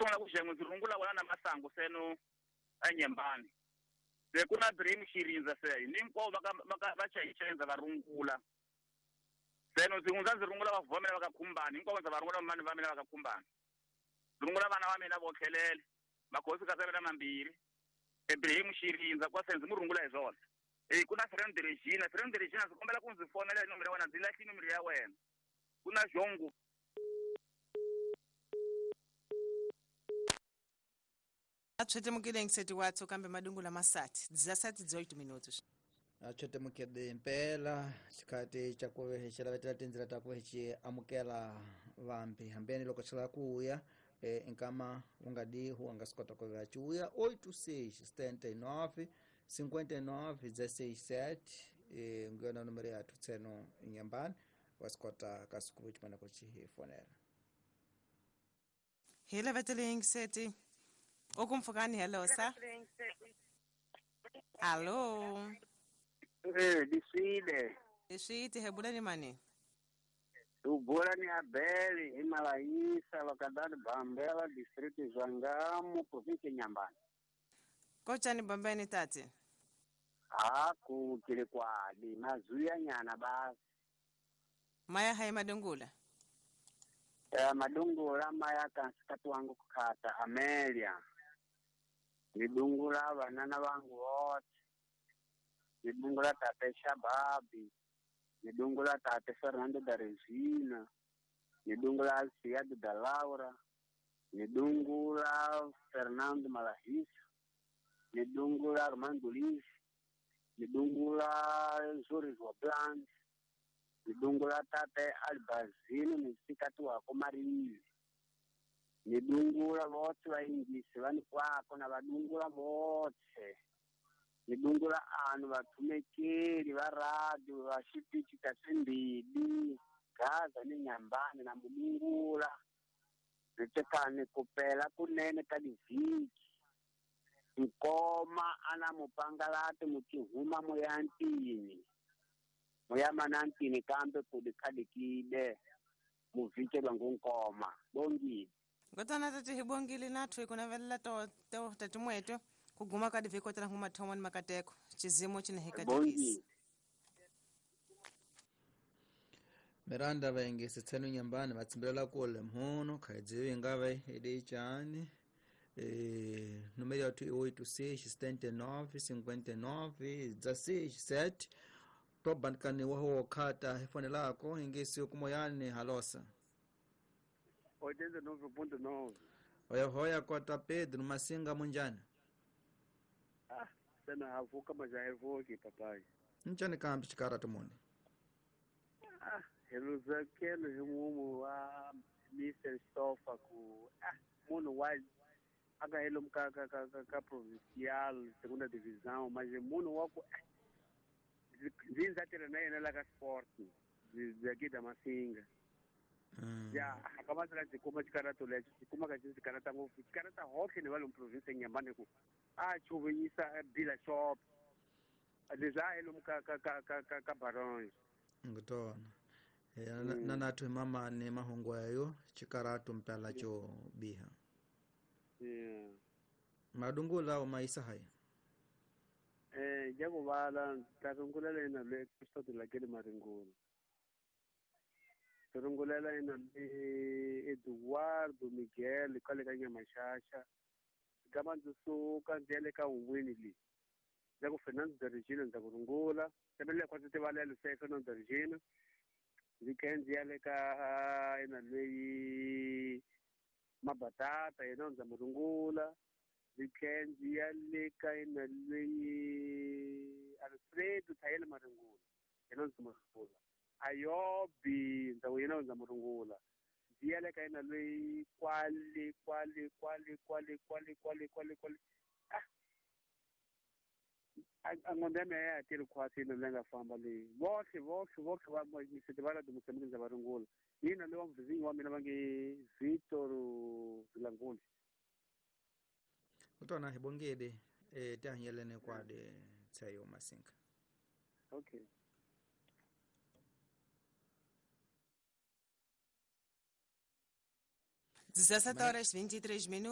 Sungula ku xengo ndzi rungula wena na masangu seno enyembani. Se ku na Dream Xirindza se hinkwavo va va chayichenza va rungula. Seno ndzi hundza ndzi rungula va vhomela va ka Khumbani, hinkwavo ndza va rungula vamani va mina va ka Khumbani. Ndzi rungula vana va mina vo tlhelele, makhosi ka mina mambirhi. Ibrahim Xirindza kwa se ndzi mu rungula hi swona. Ku na Fernando Regina, Fernando Regina ndzi kombela ku ndzi fonela hi nomoro ya wena, ndzi lahli nomoro ya wena. Ku na Jongo. Atswetemukile ngiseti watso kambe madungula masati 17:18 minutos. Atswetemukile impela xikati xa ku xi lavetela tindzila ta ku xi amukela vambi hambeni loko xi lava ku uya nkama wu nga dihu a nga swi kota ku va xi uya 86 79 59 16 nguyona nomero ya thutseno nyambani wa swi kota ka siku ximana ku xi hi fonela. Hi lavetele ngiseti okumfukani. Hello sa. Allo. Diswile. Diswite hebula ni mani? Ubula ni Abeli Himalayisa lokadali Bambela district Zwangamu province Nyambani. Kochani Bambeni tate? Haku kile kwadi mazuya nyana basi. Maya hai madungula? Madungula maya kansikatu wangu kukata Amelia. Nidungula vanana vangu wote. Nidungula tate Shababi. Nidungula tate Fernando da Regina. Nidungula Alciado da Laura. Nidungula Fernando Malahisa. Nidungula Armando Liz. Nidungula Zoris wa Blanc. Nidungula tate Albazino nisikati wako Marini. Nidungula vote vaingisi vani kwako na vadungula vote. Nidungula anu vatumekeli va radio va xitichi ta swimbili Gaza ni Nyambani na mudungula. Ritekani kupela kunene ka livhiki. Nkoma ana mupangalati muchihuma muyantini. Muyamanantini kambe kudikadikide muvhike lwangu nkoma. Bongile. Ngotana tati hibongile nathu ikunavelela to tatimweto kuguma ka divhiko tala nguma thoma ni makateko chizimo chine hikatikisi. Miranda vaingisi tsenu nyambani vatsimbilela kule mhono khaidzivi ngave edichani. Número yathu i 86 79 59 16 7 tobandikani waho khata hifonelako ingisi kumoyani halosa 89.9. Hoya hoya kota Pedro Masinga munjani? Sena havuka majaevoki papai. Nchani kambi chikaratu muni? Heluzakelo himumu wa Mr. Stofa ku munu wa aka helo ka ka provincial segunda divisão, mas munu wa ku zinza tele na yena la ka sport zaki da Masinga. Ya akamatela dzikuma chikaratu lecho chikuma ka chikarata ngopfu chikarata hohle ni va lomu province Nyambani ku a chuvinyisa dealer shop leswi a lomu ka ka ka ka ka Baronge ngitona na nathu mamani mahungu yayo chikaratu mpela cho biha. Madungula o maisa haya jakuvala tarungula lena le kusoti lakele maringula tarungulela ina le Eduardo Miguel kwale ka Nyamashasha kama ndzi suka ndzi ya le ka un'wini leyi ndza ku Fernando da Regina ndza ku rungula kambe kwa ndzi tivalela se Fernando da Regina ndzi khe ndzi ya le ka ina leyi Mabatata yena ndza mu rungula ndzi khe ndzi ya le ka ina leyi Alfredo Thayele Maringula yena ndzi mu rungula Ayobi ndza ku yena ndza mu rungula ndzi ya le ka ina leyi kwale kwale kwale kwale kwale kwale kwale kwale a ngombe ya mehe ya tiri khwasi ina leyi nga famba leyi vohle vohle vohle va misete va la dimusemile ndza va rungula yina leyi wa mvizinyi wa mina va nge Victor Vilanguli. Kutona hi bongede tihanyelene kwade tsayo Masinga. Okay. 17 horas 23 minutos.